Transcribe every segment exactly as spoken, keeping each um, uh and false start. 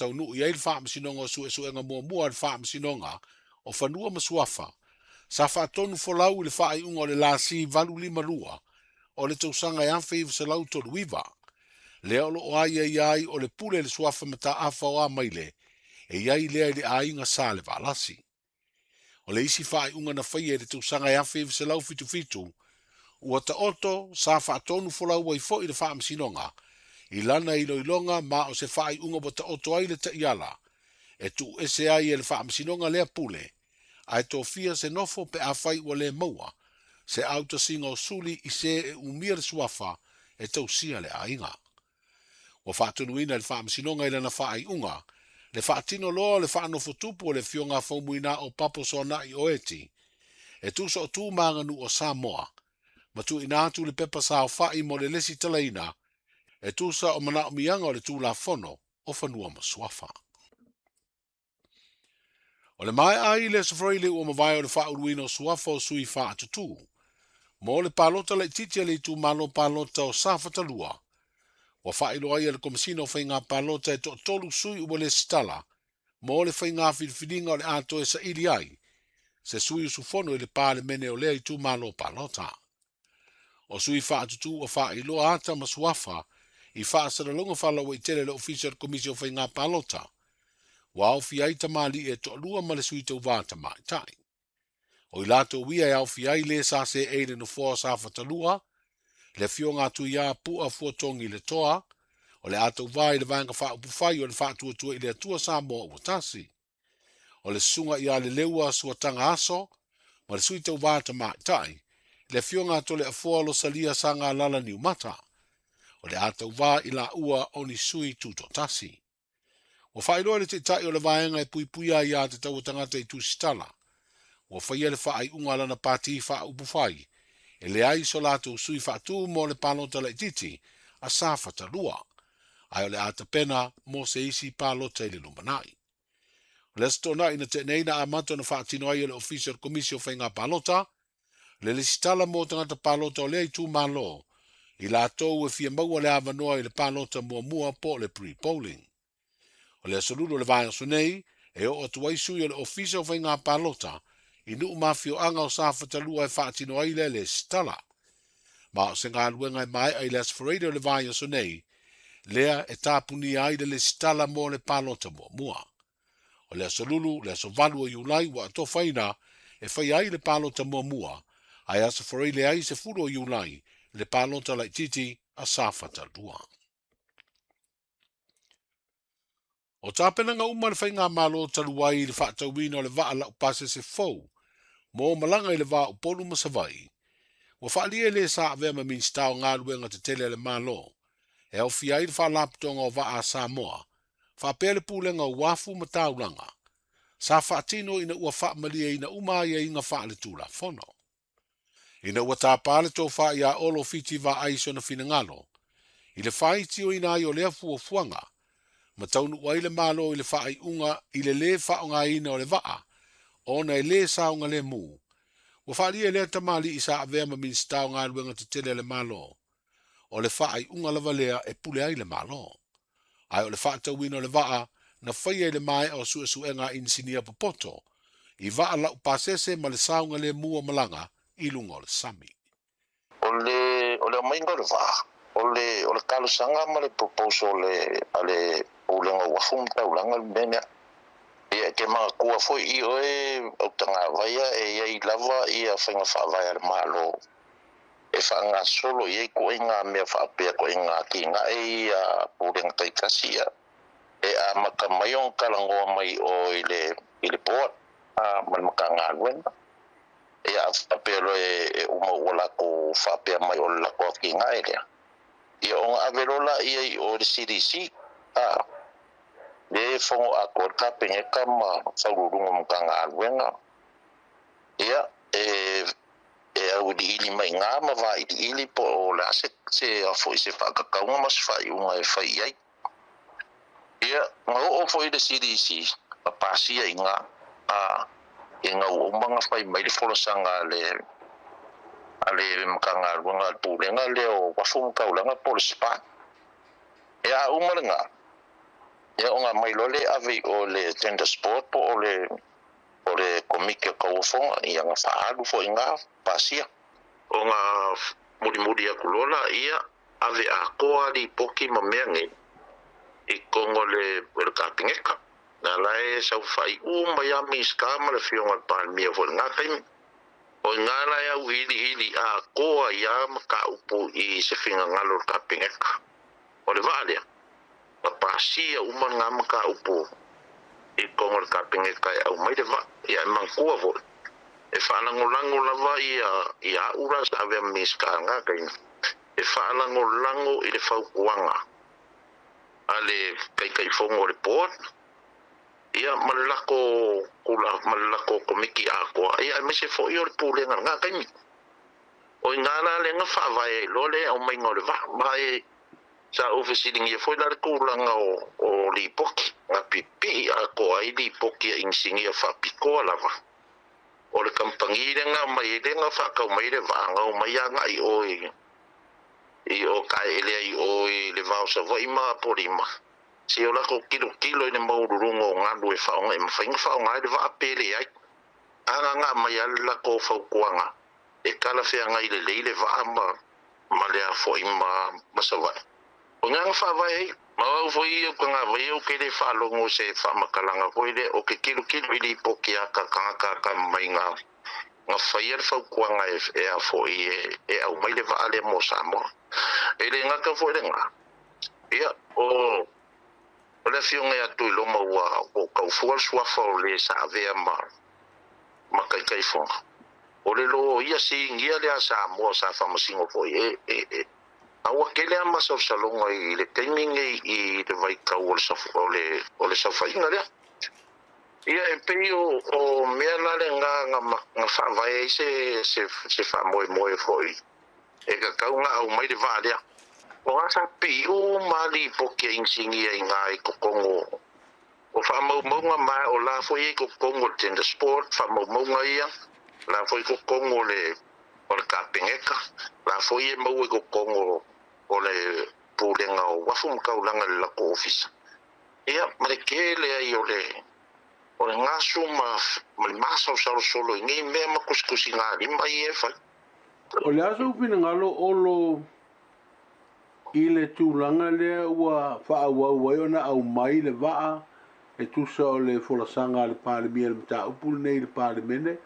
Taunuu i ai le Faamasinoga o Suesuega Muamua a le Faamasinoga o Fanua ma Suafa sa faatonu folau i le faaiuga o le lasi valu lima lua o le tausaga e afe iva selau tolu iva. Lea o loo aiaia ai o le pule le suafa mataafa o Amaile e iai lea i le aiga sa le Valasi. O le isi faaiuga na faia i le tausaga e afe iva selau fitu fitu ua taoto sa faatonu folau ai foi le Faamasinoga i lana iloiloga ma o se faaiuga ua taoto ai le taiala e tuu ese ai e le Faamasinoga lea pule ae tofia se nofo pe afai ua le maua se autasiga o suli i se e umia le suafa e tausia le aiga. Ua faatonuina le Faamasinoga i lana faaiuga le faatino loa le faanofotupu o le Afioga Faumuina o Papo Soanai o Eti e tusa o tu ma aganuu o Samoa ma tuuina atu le pepa saofai mo le lesi talaina e tusa o manaomiaga o le Tulafono o Fanua ma Suafa. O le maea ai le Aso Faraile ua mavae o le faauluina o suafa o sui faatutū mo le palota laitiiti a le itumalo palota o Safatalua. Ua faailoa ai e le Komesina o Faiga Palota e toatolu sui ua lesitala mo le faiga filifiliga o le a toe saili ai se sui usufono i le Palemene o lea itumalo palota. O sui faatutū ua faailoa ata ma suafa i faasalalauga faalauaitele le Ofisa o le Komisi o Faiga Palota. Ua aofia ai tamalii e toalua ma le sui tauvā tamaitai. O i latou ia e aofia ai le sa seei le nofoa o Safatalua, le Afioga atu ia Pua Fuatogi le Toa, o le a tauvā i le vaega faaupufai o le Faatuatua i le Atua Samoa ua tasi. O le susuga ia Leleua Suataga Aso ma le sui tauvā tamaitai, le Afioga a Toleafoa Losalia Sagalala Niumata. O le a tauvā i laua o ni sui tutoatasi. Ua faailoa le taitai o le vaega e puipuia ai ia te tau tagata i tusitala. Ua faia le faaiuga a lana pati faaupufai e leai so latou sui faatū mo le palota laitiiti a Safatalua, ae o le a tapena mo se isi palota i le lumanai. O le aso Toonai na tea nei na amata ona faatino ai e le Ofisa o le Komisi o Faiga Palota le lesitala mo tagata palota o lea itumalo i latou e fia maua le avanoa i le palota muamua po o le pre-polling. O le aso Lulu o le vaiaso nei e oo atu ai sui o le Ofisa o Faiga Palota i nuu ma afioaga o Safatalua e faatino ai lea lesitala. Ma o se galuega e maea i le Aso Faraile o le vaiaso nei, lea e tapunia ai le lesitala mo le palota muamua. O le aso Lulu, le aso valu o Iulai ua atofaina e faia ai le palota muamua, ae Aso Faraile ai sefulu o Iulai le palota laitiiti a Safatalua. O tapenaga uma le faigamalo talu ai i le faatauina o le vaa laupasese fou mo malaga i le va o Upolu ma Savaii. Ua faalia le sa avea ma Minisita o Galuega Tetele a le Malo e aofia ai le Faalapotopotoga o Vaa a Samoa, faapea le Pulega o Uafu ma Taulaga, sa faatino ina ua faamalieina uma aiaiga faaletulafono. Ina ua tapā le tofā ia Olo Fiti Vaai sona finagalo, i le faitioina ai o lea fuafuaga, ma taunuu ai le Malo i le faaiuga i le lē faaaogaina o le vaa, ona e lē saogalemu. Ua faalia lea tamalii sa avea ma Minisita o Galuega Tetele a le Malo. O le faaiuga lava lea e pule ai le Malo. Ae o le faatauina o le vaa na faia i le maea o suesuega a inisinia popoto, i vaa laupasese ma le saogalemu o malaga i luga o le sami. O le o le aumaiga o le vaa, o le o le talosaga ma le proposal le a le Pulega o Uafu ma Taulaga le mea lea. Ia e te manatua foi i oe au tagavaia e iai lava ia faiga faavae a le Malo e faagasolo i ai koʻiga mea faapea koʻiga atinae ia pulega taitasi ia e amata mai ona talanoa mai o i le i le board a ma le Matagaluega ia a faapea loa e uma ua latou faapea mai o le latou atinae lea ia ona ave loa laia i o i le C D C a le fono atoa le Kapeneta ma Faauluuluga o Matagaluega ia e e auiliili mai gā ma vailiili po o le a se se foi se faakakauga ma se faaiuga e fai i ai. Ia na oo foi le C D C ma pasia i gā a e ina ua uma ona fai mai le folasaga a le a le Matagaluega a le Pulega lea o Uafu ma Taulaga po o le S P A. E a uma lena, Ia o ngā mai lole ave o le tender sport po o le o le komiki o kauafoga ia ga faaalu foʻi gā pasia o gā mulimuli aku lola ia ave atoa lipoki ma mea nei i kogo le le kapingeka na lae saufai uma ia Minisita ma le Afioga le Palemia foʻi lagā taimi o i gā lae auiliili atoa ia mataupu i se finagalo o le kapingeka o le vaa lea ma pasia uma lagā mataupu i kogo le kapingeka e aumai le vaa ia e manatua foʻi e faalagolago lava ia ia aʻu la sa avea ma Minisita lagā taimi e faalagolago i le fautuaga a le taitaifono o le board ia ma le lako kula ma le lako komiti atoa ia aemaise foʻi o le pulega lagā taimi o i gā la lega faavae ai loa le aumaiga o le vaa ma e sa ou fesiligia foi la le tulaga o o lipoki na pipii atoa ai lipoki a inisinia faapitoa lava o le kamupani lega mai lega faatau mai le vaa ga omai agaʻi oe i o kaeʻele ai oe le vao Savaʻi ma Apolima se o lakou kilokilo i le maululuga o galu e faaaoga e mafaiga faaaoga ai le vaa pe leai agaga mai a le lakou fautuaga e talafeagai lelei le vaa ma ma le afoʻi ma ma Savaʻi o gaga faavae ai ma au foi ia tagavai au ke le faalogo se faamatalaga foi lea o ke kilokilo i lipoki a ka tagata ka mai ga ga faia le fautuaga e e afoʻi e e aumai le vaa lea mo Samoa e le gata foi lagā ia o o le afioga ia Tuiloma ua ua taufua le suafa o le sa avea ma ma taitaifono o le lō ia sigia le a Samoa sa faamasino foi e e e a ua tele a masalosaloga i le taimi nei i le vaitau o le o le o le saofaiga lea ia e pei o o mea la lagā ga ga faavae ai se se se faamoemoe foʻi e tatau ga aumai le vaa lea o gā sa piʻi uma lipoki a inisinia i gā i totogo o faamaumauga ma o la foi ai totogo o le tender sport faamaumauga ia la foi totogo o le o le kapeneta la foi e maua i totogo o le pulega o uafu ma taulaga i le latou ofisa ia ma le tele ai o le o le gasu ma ma le masaosalosolo i nei mea ma tusitusigalima ia e fai. O le aso finagalo olo i le tulaga lea ua faaauau ai ona aumai le vaa e tusa o le folasaga a le Palemia i le mataupu lenei i le Palemene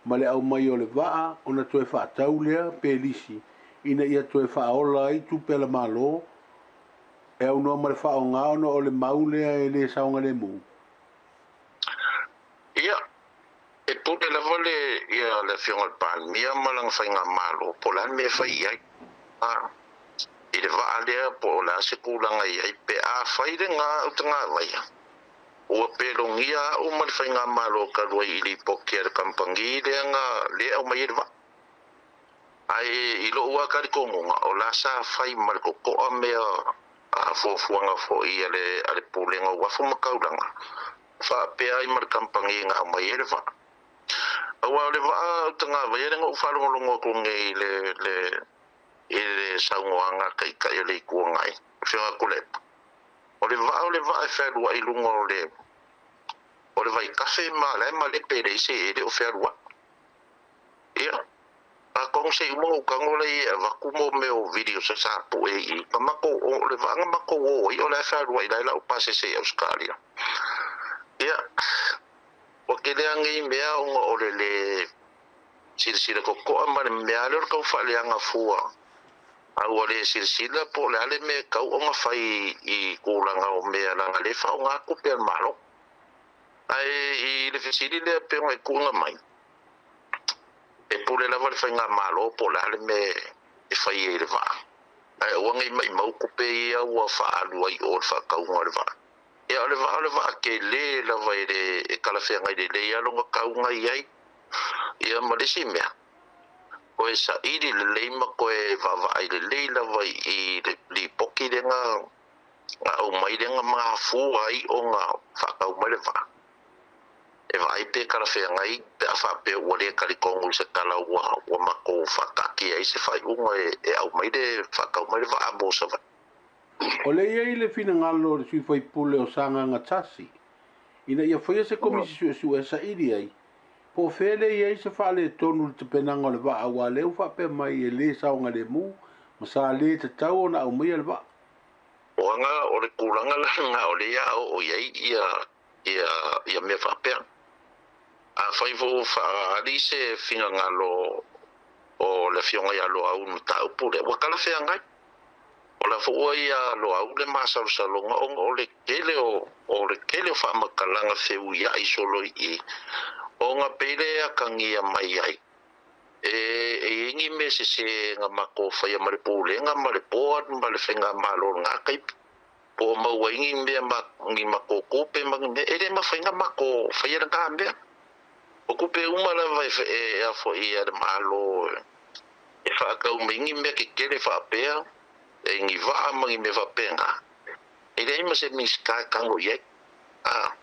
ma le aumai o le vaa ona toe faatau lea pe lisi ina ia toe faaola ai tupe a le Malo e aunoa ma le faaaoga ona o le mau lea e lē saogalemu. Ia e pule lava le ia le afioga le Palemia ma lana faigamalo po o le a le mea e fai i ai a i le vaa lea po o le a se tulaga i ai pe a fai lagā utagavaia ua pelogia aʻu ma le faigamalo talu ai i lipoki a le kamupani lea na lea aumai ai le vaa ae i loʻu a talitonuga o la sa fai ma le totoʻa mea a fuafuaga foʻi a le a le pulega o uafu ma taulaga faapea ai ma le kamupani na aumai ai le vaa auā o le vaa utagavaia lega ou faalogologo atu nei i le le i le saunoaga taitaʻi o le Itu Agai afioga Tuilaepa o le vaa o le vaa e fealuaʻi luga o le o le vaitafe ma lae malepe e leai se e le o fealuaʻi ia atonu se i uma ou tago lai e avatu mo mea o video sa sa puʻe i ma matou o le vaa na matou o ai o le a fealuaʻi lae lau pasese i Ausetalia ia ua tele a nei mea ona o le lē silasila totoʻa ma le mea lea o le tau faaleaga fua a ua lē silasila po o le a le mea e tau ona fai i tulaga o mea laga lē faaaogā tupe a le Malo ae i le fesili lea pe ona e tuuga mai e pule lava le faigamalo po o le a le mea e fai ai i le vaa ae aua nei maʻimau tupe ia ua faaalu ai o le faatauga o le vaa ia o le vaa o le vaa telē lava e le e talafeagai lelei a lona tauga i ai ia ma le isi mea koe saʻili lelei ma koe vaavaai lelei lava i le lipoki lega na aumai lega mafua ai ona faatau mai le vaa e vaai pe talafeagai pe a faapea ua lē talitonu i se tala ua ua matou faataatia ai se faaiuga e, e aumai le faatau mai le vaa mo Savaii. O le ia i le finagalo o le sui faipule o Sagaga Tasi ina ia faia se komisi suesue e saili ai po o fea le i ai se faaletonu i le tapenaga o le vaa aua lea ua faapea mai e lē saogalemu ma sa lē tatau ona aumaia le vaa. O aga o le tulaga la o le ia o i ai ia ia ia mea faapea. Afai foi ua faaali se finagalo o le afioga ia Loau i le mataupu lea, ua talafeagai. O la foi ua ia Loau le masalosaloga ona o le tele o o le tele o faamatalaga feuiai solo i i ona pei le atagia mai ai e e i ai ni mea sese na matou faia ma le pulega ma le board ma le faigamalo o lena taimi po o maua ai ni mea ma ni matou tupe ma ni mea e le mafai ona matou faia lena mea. O tupe uma lava e e afoia e le Malo e faatau mai ni mea tetele faapea e ni vaa ma ni mea faapena e leai ma se Minisita e tago i ai. A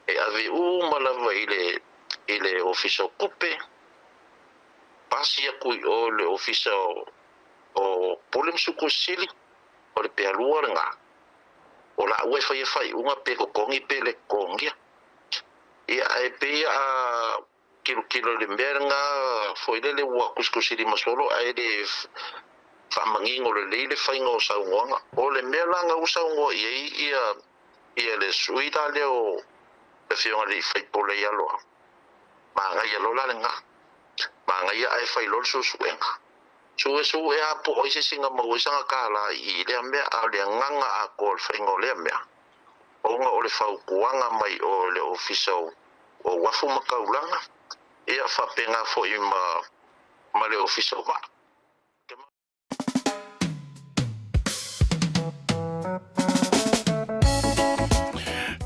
e ave uma lava i le i le Ofisa o Tupe, pasi atu i o le Ofisa o o Pule ma Sukusili, o le pealua lena. O laua e faia faaiuga pe totogi pe le totogia. Ia ae pei a kilokilo i le mea lena foi lele ua kusikusi lima solo ae le faamanino lelei le faiga o saunoaga. O le mea la na ua saunoa i ai ia ia le sui la lea o le afioga i le faipule ia Loau, manaia loa la lena. Manaia ae fai loa le suesuega. Suesue a po o ai se isi na maua ai sana tālā i i lea mea, a o le agaga atoa o le faiga o lea mea, ona o le fautuaga mai o le Ofisa o Uafu ma Taulaga, ia faapena foi ma ma le Ofisa o Vaa.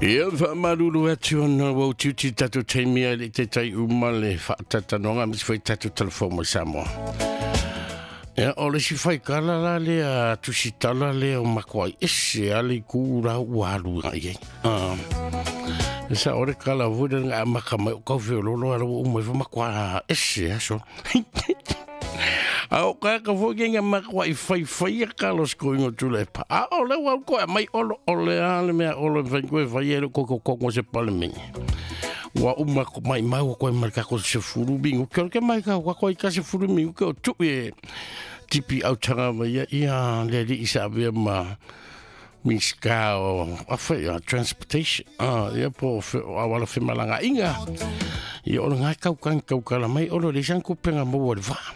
Ia faamalulu atu ona ua utiuti tatou taimi ai le i taitai uma le faatatanoga aemaise foi tatou talafou mai Samoa. Ia o le isi faikala la lea tusitala lea o makuai ese a le itu la ua alu agai ai. Ah. E sa o le kala foi lea na amata mai o kaufeololo ala ua uma ifo makuā ese aso. A o ka ka foi ke nga makuai faifai a kalo skoingo tula e pa. A o le ua koe mai olo o le a le mea olo e whai koe whai e le koko koko se palemingi. Ua uma ko mai mau koe mai ka ko se furu mingu. Ke ke mai ka ko koe ka se furu mingu ke o tui e tipi au tanga mai ia ia le li isa avea ma Minisita o awhai a transportation. Ah, ia po o awala whemalanga inga. Ia o ngā kau kang kau kala mai olo le san kupenga maua le vaa.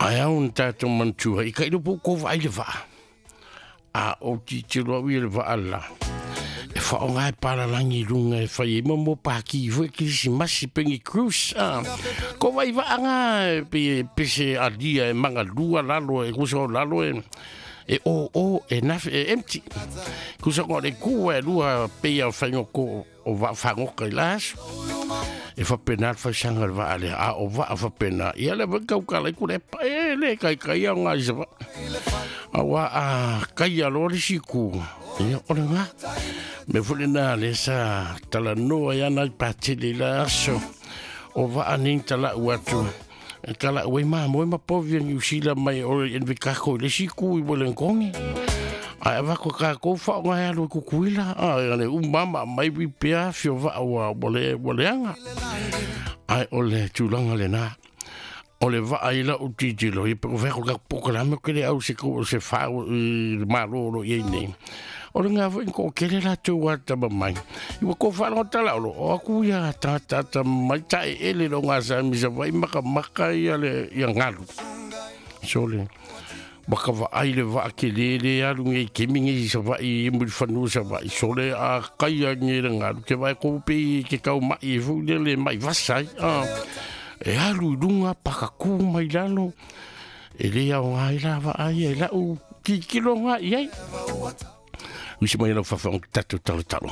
Ai au na tātou mantua i ka ilo po ko vai le vaa. A o ti te roa ui le vaa la. E whaonga e paralangi runga e whai e momo pāki i fue kirisimasi pengi cruise. Ah. Ko vai vaa ngā e pe pese alia e manga lua lalo e kusa o lalo e e o o e nafe e empty. Kusa ko le kua e lua peia o whaingo ko o va whangoka i la aso. E whapena al whaisanga le vaa lea, a o vaa whapena. Ia le waka ukala i kure pa e le kai kai au ngā isa va. A wā a kai a loa le siku. Ia o le ngā. Me fule nā le sa talanoa ia nai pātele i la aso. O vaa ning tala atu. E tala ue maa moe ma povi a New Zealand mai o le envikako i le siku i Wollongong. Ai avako ka ko fa o ngai alu kukuila a le umama mai wi pea fio va wa wale waleanga ai o le tulanga le na o le va ai la utitilo i pe ko ka pokalame ke le au se ko se fa i malo lo i nei o le ngā foi ko kele la tu wa ta mai i ko fa lo tala lo o ku ia ta ta ta mai ta ele lo ngā sa mi sa vai maka maka ia le ia ngalu sole Waka wa ai le wa ke le le alu ngai kemi ngai sa wa i muri whanua sa wa i sole a kai a ngai le ngalu ke vai ko pe ke kau mai e fu le le mai vasai a e alu i lunga pakaku mai lalo e le au ngai la wa ai e la u ki kilo ngai ai. Usi mai lau whawha tatu talo talo.